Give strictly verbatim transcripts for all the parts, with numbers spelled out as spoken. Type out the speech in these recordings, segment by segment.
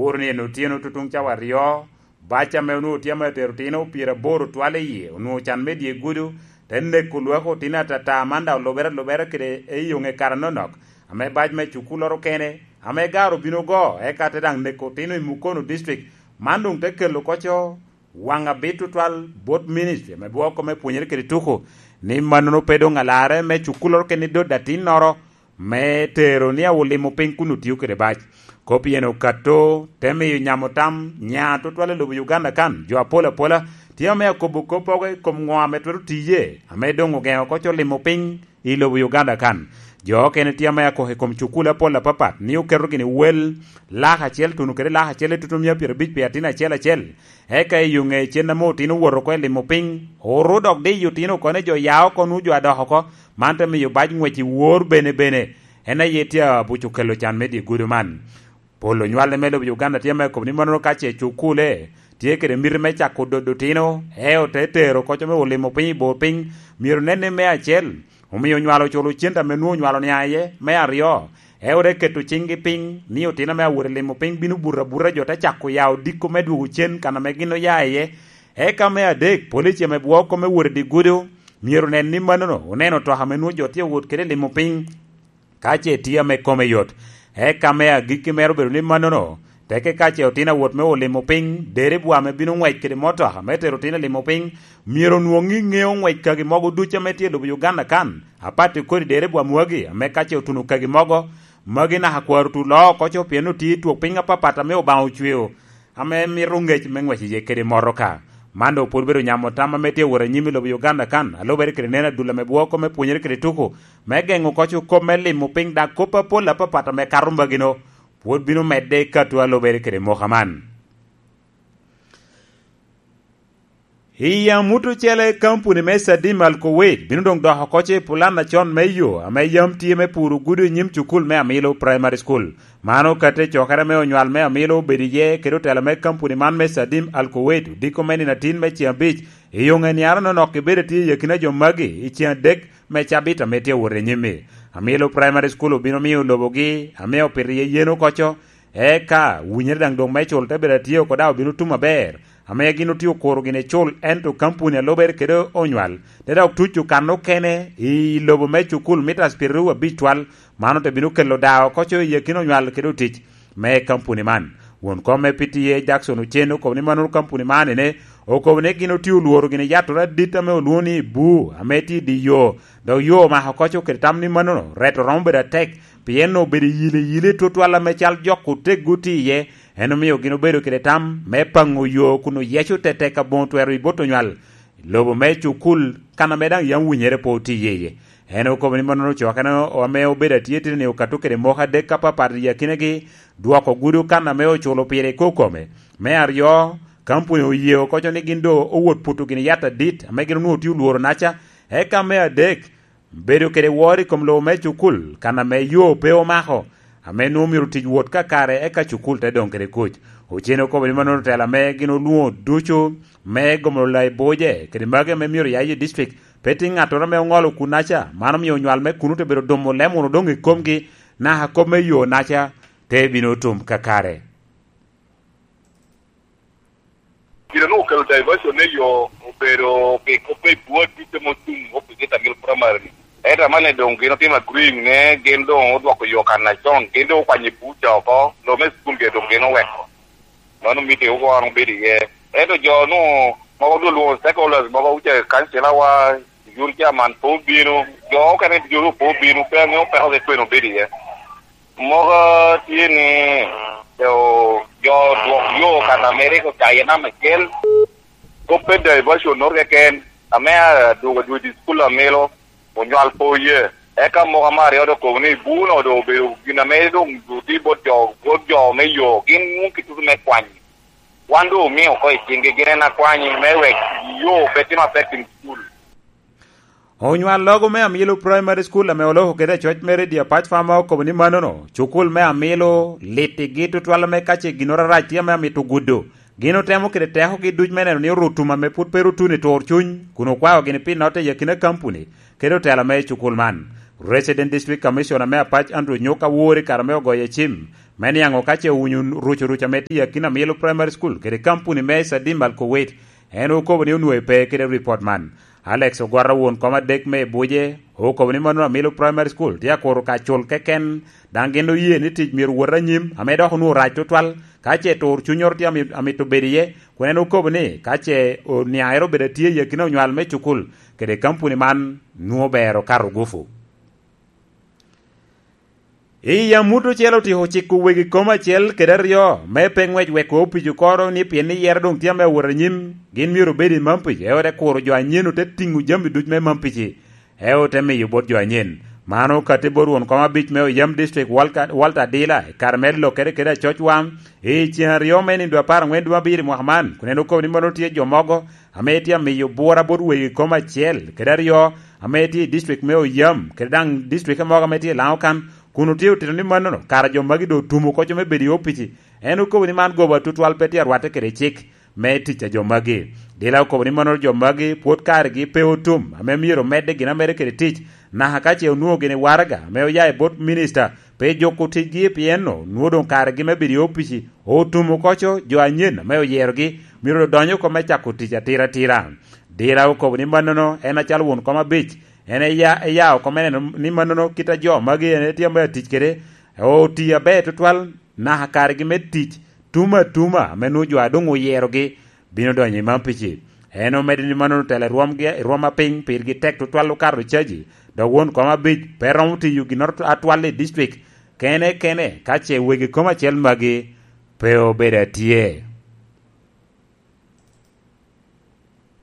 Oro ni en otyeno tutuŋ cawa aryo, bac ame onwoŋo tye ame otero otino pyeraboro twal i yie, onwoŋo can me dye gudo, te neko lwak otino atata, man daŋ olubere alubere kede i yoŋe kare anonok, ame bac me cukulloro kene, ame garo obino ogo, eka te daŋ neko otino i Mukono District. Man doŋ te kelo koco waŋ abit tutwal bot ministry ame gwoko me pwonyere kede tuko, ni mannono pe doŋ alarre me cukulloro kene i dot atinnoro, me tero ni awo limo piny kun otio kede bac. Kop pien okato, te miyo nyamo tam nya tutwal i lobo Uganda kan. Jo apol apola tye ame akobo kop mogo i kom ŋo ame twero tiye, ame doŋ ogeŋo koco limo piny i lobo Uganda kan. Jo okene tye ame akoko i kom cukul apol apapat, ni oketo gini wel lak acel tuno kede lak acel i tutum mia pyerabic pi atin acel acel. Eka i yo ŋe cen ame otino owoto oko i limo piny, oru dok diyo otino oko ni jo ya oko nwu jo adok oko, man te miyo bac ŋwec i wor bene bene. En aye tye abuc okelo can me dye gudo man. Pol onywale me lobo Uganda tye me kobo ni mannono ka ce cukule tye kede miti me cako dodo otino, e ote tero koco me olimo piny i bor piny, myero nen ni me acel, omio onywalo oculo cente ame nwoŋo onywalo nia iye. Me aryo, e ote keto ciŋgi piny ni otino ame awot i limo piny bino buto abuta, jo te cako ya odiko me dwogo cen kan ame gin oya iye. Eka me adek, polici ame bwoko me wot i dye gudo myero nen ni mannono oneno otoka ame nwoŋo jo tye owot kede i limo piny, ka ce tye ame kome yot. Eka me agikki mere obedo ni mannono, teke ka ce otino awot me olimo piny, deribwa ame bino ŋwec kede motoka me tero otino i limo piny, myero onwoŋ i ŋeo ŋwec kagi mogo ducu ame tye i lobo Uganda kan, apati kodi deribwa mwagi ame ka ce otuno kagi mogo, magi naka kwaro tu loo oko co pien otye i twok piny apapat ame Obaŋa ocweo, ame mito ŋec me ŋwec iye kede motoka. Man doŋ pwod bedo nyamo tam ame tye wot anyim i lobo Uganda kan, a lubere kede neno adul ame bwoko me pwonyere kede tuko, me geŋo koco kop me limo piny, daŋ kop apol apapat ame kato mbagino pwod bino medde i kato a lubere kede moka man. I amut ocele, kampuni me Sadim Al Kuwait bino doŋ doko koco i pulan acon me yo ame yam tye me puro gudo i nyim cukul me Amilo Primary School. Man okatte i cokere me onywal me Amilo obedo iye kede otela me kampuni man me Sadim Al Kuwait odiko me nino atin me ceŋ abic, i yo ŋe niaro nonok ibedo tye i akina jo magi i ceŋ adek me cabit ame tye awot i nyim-mi. Amilo Primary School obino miyo lobogi ame opito iye yen oko co, eka winyere daŋ doŋ me cul te bedo atye oko daŋ obino tum aber, ame gin otye okuro gini cul, ento kampuni a lubere kede onywal te dok tuco kan okene i lobo me cukul mita pyeraryo abic twal. Man ote bino kelo daa oko co i akina onywal kede otic me kampuni man. Won kom me P T A, Jackson Ochen, okobo ni mannono kampuni man ene okobo ni gin otye olworo gini yatoro adit ame olwoŋo ni buu ame tye i dye yo, dok yo omako koco kede tam ni mannono reto romo bedo atek, pien obedo iyili iyili tutwal ame cal jok oteggo tye iye. En omio gin obedo kede tam me paŋo yo kun oyeco tetek aboŋo twero i bot onywal lobo me cukul, kan ame daŋ yam winyere pe otye iye. En okobo ni mannono cokene ame obedo atye tye ni okato kede moko adek apapat i akinagi, dwoko gudo kan ame oculo pire i kokome. Me aryo, kampuni oye okoco ni gin doŋ owot puto gini yat adit ame gin onwoŋo tye olworo naca. Eka me adek, bedo kede woro i kom lobo me cukul kan ame yo pe omako, ame nwoŋo myero tic wot kakare eka cukul te doŋ kede kuc. Ocen okobo ni mannono tela ame gin olwoŋo ducu me gomolo lai boje kede magi ame myero ya i district, pe tye ŋattoro ame oŋolo kunnaca. Man omio onywal me kuno te bedo dumo lem wunu doŋ i komgi, naka kop me yo naca te bino tum kakare. Gin onwoŋo okelo diversion me yo obedo pi kop me bwot ducu ame otum opicit a Mil Primary. Ento amanni doŋ gin otimo agreeing ne gin doŋ odwoko yo kan acon, gin doŋ okwanyo i buca oko, lo me cukul gire doŋ gin oweko. Mano meeting oko an obedo iye. Ento jo nu mogo dul wo stakeholders mogo, uce kancilawa, youth chairman pe obino, jo okene jo pe obino, pe aŋeo peko keken obedo iye. Mogo tye ni jo, jo dwok yo kan ame rik ocaye namba acel, kop pe diversion note keken, ame adwogo adwogo i school amilo, onywal pe oye. Eka mogo ame aryo doŋ okobo ni buno doŋ obedo gin ame doŋ duti bot jo, bot jo me yo, gin nwoŋo kitutu me kwany. Wan doŋ omio oko i ciŋgi gin en akwanyi me wek yo pe tim affecting school. Onywal logo me Amilo Primary School ame oloko kede acoc me redio apac fama okobo ni mannono, cukul me Amilo litigi tutwal ame ka ce ginnoro arac tye ame amito gudo, gin otemo kede tekogi duc me neno ni orutum ame pwod pe rutuno i tur cuny, kun okwao gini pi notte i akina kampuni kede otela me cukul man. Resident District Commissioner me apac Andrew Nyuka wor i kare ame ogoye cim Me niaŋ ka ce owinyo ruc oruc ame tye i akina Milo Primary School kede kampuni me Sadim Al Kuwait, en okobo ni onwoŋo pe kede ripot man. Alex Ogwara, won kom adek me Ibuje, okobo ni mano Amilo Primary School tye akuro ka cul keken, daŋ gin oye ni tic myero wot anyim, ame dok onwoŋo rac tutwal ka ce tur cunnyoro tye ami-, amito bedo iye, kun en okobo ni ka ce oniaŋere obedo atye i akina onywal me cukul kede kampuni man, nwoŋo ber okato gufu. I yam mut ocele otyeko ciko wegi kom acel kede aryo me pe ŋwec weko opic okoro ni pien ni yero doŋ tye ame awot anyim, gin myero obed i Mampic, eo te kuro jo anyen ote tiŋo jami duc me Mampic-ci, eo te miyo bot jo anyen. Man okatti bot won kom abic me Oyam District, Walter, Walter Adila, i kare me lokkere kede acoc wam i ceŋ aryo me nindo apar aŋwen dwe abiro i mwaka man, kun en okobo ni mano tye jo mogo ame tye amiyo bura bot wegi kom acel kede aryo ame tye i district me Oyam, kede daŋ district mogo ame tye i Laŋo kan, kun otye otito ni mannono kara jo magi doŋ otumo koco me bedo i opici. En okobo ni man goba tutwal, pe tye arwatte kede cik me tic a jo magi. Dila okobo ni mannono jo magi pwod karegi pe otum, ame myero omedde gin amedde kede tic, naka ka ce onwoŋo gini waraga ame oya i bot minista, pe juko ticgi, pien onwoŋo doŋ karegi me bedo i opici otumo koco. Jo anyen ame oyerogi myero odony oko me cako tic atira atira. Dira okobo ni mannono en acalo won kom abic, en eya, eya oko me neno ni mannono kit a jo magi en etye ame atic kede oti aber tutwal, naka karegi me tic tum atuma ame nwoŋo jo a doŋ oyerogi bino donyo i Mampici. En omedde ni mannono telo i rwomgi, i rwom apiny pirgi tek tutwal okato caji, dok won kom abic pe romo tiyo ginnoro atwal i district kene kene ka ce wegi kom acel magi pe obedo atye.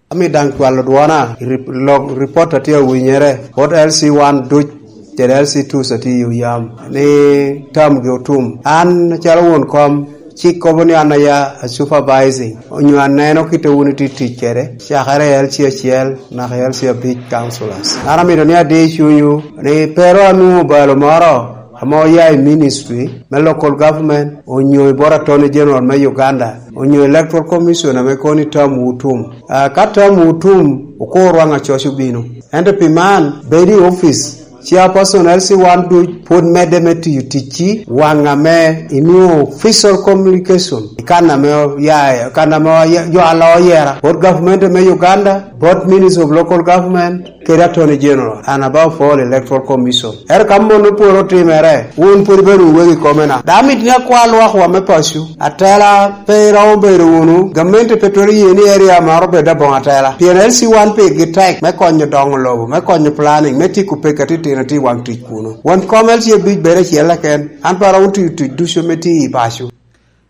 Ami daŋ cwalo dwona i rip-, lok ripot a tye awinyere, bot L C one duc, kede L C two a tye i Oyam, ni tamgi otum. An acalo won kom, cik kobo ni an aya a supervising, onyo aneno kit a wun itye tic kede, cakere i L C acel naka i L C abic councillors. An amito ni adi i cunywu ni pe ru anwoŋo obalo moro ame oya i ministry me local government, onyo i bot Attorney General me Uganda, onyo Electoral Commission ame kono ni tamwu otum. Ah, ka tamwu otum, okur waŋ acoc obino. Ento pi man, bed i office, chairperson L C one duc pwod medde me tiyo ticci, waŋ ame inwoŋo official communication i kan ame oya, kan ame oya-, jo a loo oyera, bot government me Uganda, bot Ministry of Local Government, kede Attorney General, and above all Electoral Commission. Ento ka mano pwod otimere, wun pwod ibedo wegi komena. Dok amito ni akwa lwakwa me paco, atela pe iromo bedo wunu, gamente pe twero ye ni area moro bed aboŋo atela. Pien L C one pigi tek me konyo doŋo lobo, me konyo planning, me tiko peke atitino tye i waŋ tic kuno. Won kom L C abic bedo acel keken, an pe aromo tiyo tic ducu me tiyo i paco.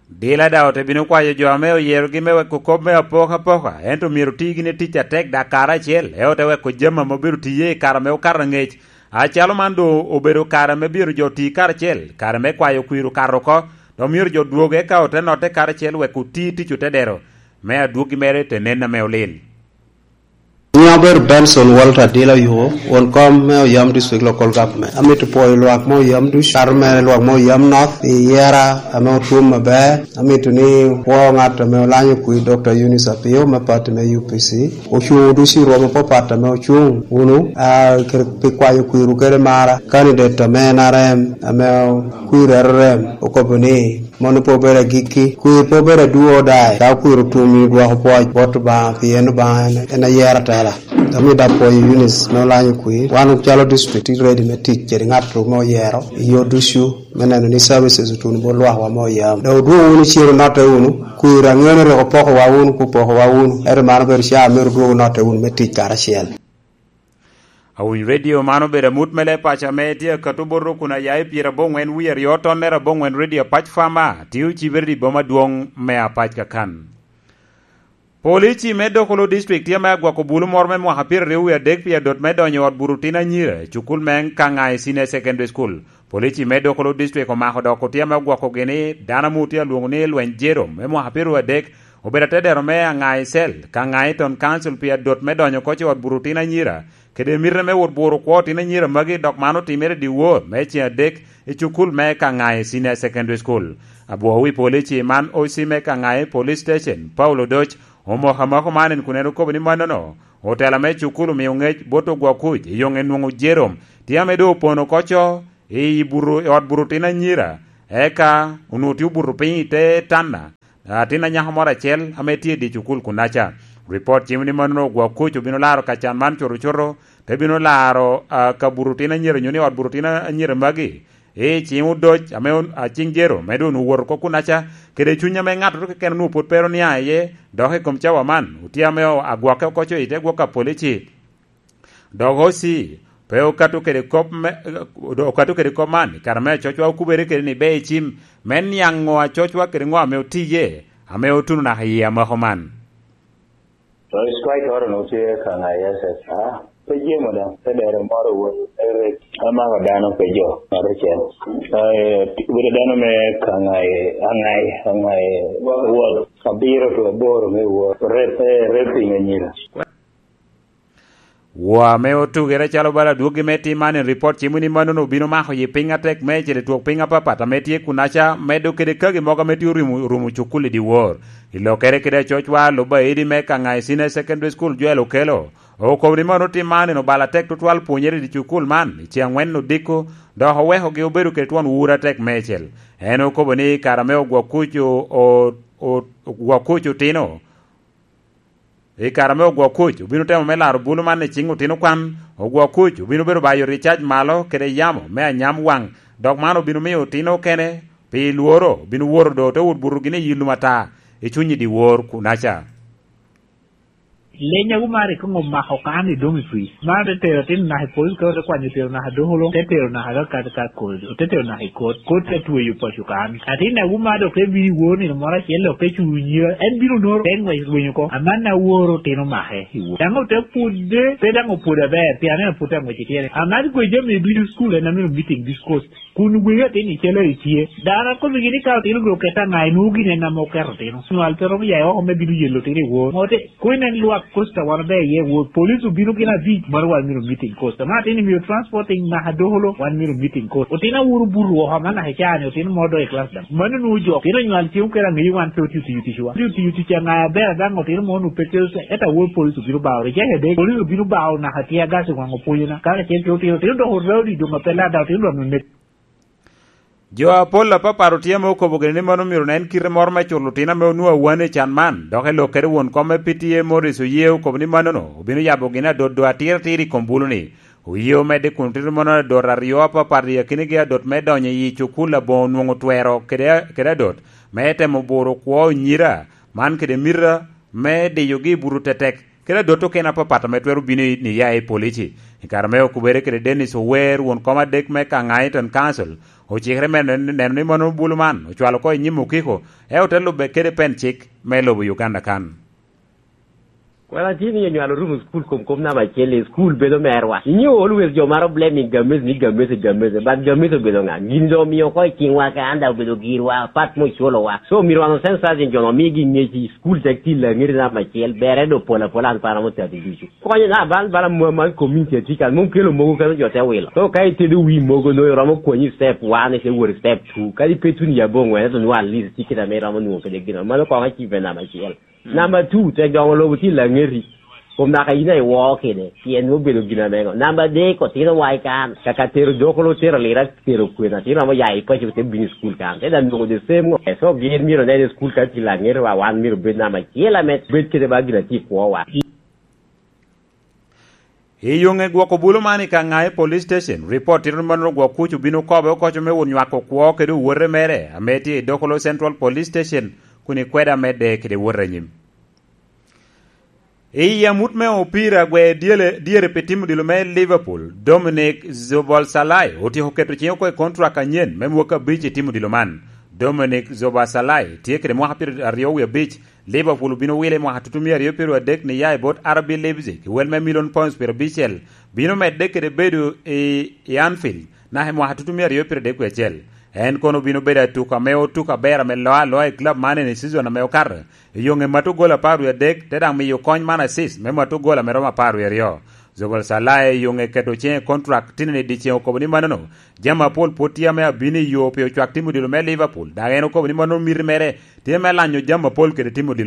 Dila daŋ ote bino kwayo jo ame oyerogi me weko kop me apokapoka, ento myero oti gini tic atek dak kare acel, eo te weko jami ame obedo tiye i kare ame okato aŋec. Acalo man doŋ obedo kare ame myero jo oti karacel, kare me kwayo kwir okato oko, dok myero jo dwog eka ote notte karacel wek oti tic otedero, me adwoggi mere te nen ame olil. Nyiŋa obedo Benson Walter Adila Oyuko, won kom me Oyam District Local Government. Amito pwoyo lwak me Oyam ducu, kato mere lwak me Oyam North, pi yera ame otum aber. Amito ni pwo ŋat ame olanyo kwir, Doctor Eunice Apio me party me U P C. Ocuŋ ducu i rwom apapat ame ocuŋ wunu, ah, kede pi kwayo kwirwu kede mara. Candidate ame N R M, ame kwir R R M, okobo ni, mano pe obedo agikki. Kwir pe obedo a do or die. Ka kwir otum i dwoko pwoc bot Obaŋa, pien Obaŋa en, en ayero atela. Dok mi dok pwoyo Eunice me olanyo kwir. Wan calo district tye ready me tic kede ŋat me oyero i yo ducu me neno ni services otuno bot lwakwa me Oyam. Dok odwogo wunu cen onotte wunu. Kwir aŋeo ni rik opokowa wunu, ku opokowa wunu. Ento man obedo ca myero odwogo onotte wunu me tic karacel. Awiny redio man obedo amut me leb paco ame tye akato bot rukun aya i pyeraboŋwen wie aryo tonnere aboŋwen redio Apac Fama, tye ocibere i boma adwoŋ me Apac kakan. Polici me Dokolo District tye ame agwoko bulu moro me mwaka pyeraryo wie adek pi adot me donyo i ot buto tin anyira i cukul me Kaŋai Senior Secondary School. Polici me Dokolo District omako dok otye ame ogwokogi ni dano ame otye alwoŋo ni Lweny Jerome me mwaka pyeraryo adek obedo atedero me Aŋai Cell, Kaŋai Town Council pi adot me donyo oko i ot buto tin anyira, kede mite me wot buro kwo tin anyira magi, dok man otimere dyewor me ceŋ adek i cukul me Kaŋai Senior Secondary School. Abwoo wi polici man, O C me Kaŋai Police Station, Paulo Odoc, omoko amoko man en kun en okobo ni mannono, otela me cukul omio ŋec bot ogwok kuc i yoŋe nwoŋo Jerome tye ame doŋ opono oko co i buto, i ot buto tin anyira, Eka onwoŋo tye obuto piny i te tanna atin anyako moro acel ame tye i dye cukul kunnaca. Ripot cimo ni mannono ogwok kuc obino laro ka can man cuto cuto, te bino laro ka buto tin anyira nyo ni ot buto tin anyira magi i ciŋ odoc ame aciŋ jero me doŋ owoto oko kunnaca, kede cuny ame ŋattoro keken onwoŋo pwod pe oniaŋ iye, dok i kom cawa man otye ame agwokke oko co i te gwok a polici. Dok oci pe okato kede kop me okato kede kop man i kare me acocwa okubere kede ni be icim me niaŋ ŋo acocwa kede ŋo ame otiye ame otuno naka i yie amako man. Strike oro no tye ka ŋa yes yes ah pe jemo da pe dero moro wot eret amako dano pe jo maro cen bedo dano me ka ŋai aŋai aŋai wot abiro to aboro me wot rep rep piny anyira. Woo ame otugere calo bala adwoggi me tim man en ripot cimo ni manono obino mako yi piny atek meicel i twok piny apapat ame tye kunaca medo kede kagi mogo ame tye orumo cukul i dyewor. I lokere kede acocwa lub aidi me Kang'ai Senior Secondary School Joel Okello okobo ni mano tim man en obalo atek tutwal pwonyere i dye cukul man i ce angwen odiko dok owekogi obedo kede twon wuro atek meicel. En okobo ni kare ame ogwok kuc otino I kare ame ogwok kuc obino temo me laro bulu man i ciŋ otino kwan, ogwok kuc obino bedo bayo ricac malo kede yamo me anyam waŋ, dok man obino miyo otino okene pi lworo bino woto do te wot buto gin i yi lum ata i cuny i dyewor kunaca. Lenya wu mar ikoŋo mako kan i doŋ i twi. Man te tero atin naka i pol ka ote kwanyo tero naka dokolo te tero naka ka ka ka kod ote tero naka i kot kot te tweyo paco kan. Atin naka wu mar dok te bino i wor nino moro acel dok te cuŋ nyira en bino noro te ngwec rwenyo ko. Aman na woro tino make i wor. Daŋ ote pwodde pe daŋ opwod aber pi aneno pwod te ngwec ityere. Aman gwe jami ducu school en amino meeting this coast. Kun wegi atin i calo i tye. Dano akobbigi ni ka otino gin okette aŋa inwoŋo gin en ame oketo otino. Nywal pe romo yaye oko me bino yelo otino i wor. Ŋote, koŋ inen lwak kosta wan obe iye wor. Police obino gin abic mano wan myero meeting kosta. Man atin imio transporting naka dokolo wan myero meeting kosta. Otino awuro buto woko aman naka icaa ni otino mo do i class daŋ. Mano nwoŋo jok. Otino nywal cem okene aŋeyo wan pe otio tiyo ticwa. Otio tiyo tic aŋa aber daŋ otino mo nu pe kelo ento awor police obino bao. Reject adek. Police obino bao naka tye agas i waŋ opwonyona. Kara cen pe otino, otino dok oraundi doŋ ape lada otino dok onek. Jo apol apapat otye ame okobo gini ni mano myero nen kite moro me culo otino ame onwoŋo awane i can man, dok i lok kede won kom me P T A Morris Oyee okobo ni manono obino yabo gini adot do atiratir i kom bulu-ni. Oyee omedde kun tito mano adot aryo apapat i akinagi adot me donyo i cukul aboŋo onwoŋo twero kede adot me temo buro kwo onyira man kede mita me diyogi i buto tetek. Kede adot okene apapat ame twero bino i niya i polici. I kare me okubere kede Dennis Ower, won kom adek me Kangaitan Council, ocikere me neno ni mono bulu man ocwalo oko i nyim okiko, e ote lube kede pen cik me lobo Uganda kan. Kwena tye ni onywalo rumo school kom kom namba acel i school bedo merwa. Inyo always jo maro blaming Gamese ni Gamese Gamese but Gamese obedo nga? Gin do omiyo oko i cingwa ka an da obedo girwa pat mo culowa. So myero wan osensitize jo no migi ngec i school tek ti langeri namba acel bere do pol apol an para mo tati ducu. Konyo na bal bala mwa man community tika mom kelo mogo kano jo te wilo. So ka itedo wi mogo no romo konyi step one ite wori step two. Kadi pe tuni yabo ngwen to nwa at least ticket ame romo nwo kede gino. Mano kongo achievement namba acel. Number two, tek dongo lobo tye laŋeti. Kom naka yin a iwoo kede, pien obedo gin amego. Number adek, otino wa i kan, kaka tero dokolo, tero lira, tero kwena, tino amo ya i paco te bino i school kan. Te da nwoŋo the same ngo. So gin myero onen i school kan tye laŋeti wa, wan myero bed namba acel ame bed kede ba gin a tye i kwo wa. I yoŋe gwoko bulu man i Kang'ai Police Station, ripot tito ni mano gwok kuc obino kobe okoco me wot nywako kwo kede owote mere ame tye i Dokolo Central Police Station kun i kweda medde kede wot anyim. I amut me opira gwe dyere pi tim odilo me Liverpool, Dominic Zoboszlai otyeko keto cinge oko i kontrak anyen me mwaka abic i tim odilo man. Dominic Zoboszlai tye kede mwaka pyeraryo wie abic Liverpool obino wile i mwaka tutumia aryo pyeraryo adek ni ya i bot R B Leipzig i wel me milion pounds pyerabicel, bino medde kede bedo i Anfield naka i mwaka tutumia aryo pyeraryo adek wie acel. En kono obino bedo atuko ame otuko aber ame loo aloa i club man i season ame okato. I yoŋe mato gol apar wie adek te daŋ miyo kony man assist me mato gol ame romo apar wie aryo. Zobel Salah i yoŋe keto ciŋe i kontrak tinni dyeceŋ okobo ni manono, jami apol pwod tye ame abino i yo pi ocwak tim odilo me Liverpool, dok en okobo ni mano miti mere tye me lanyo jami apol kede tim odilo.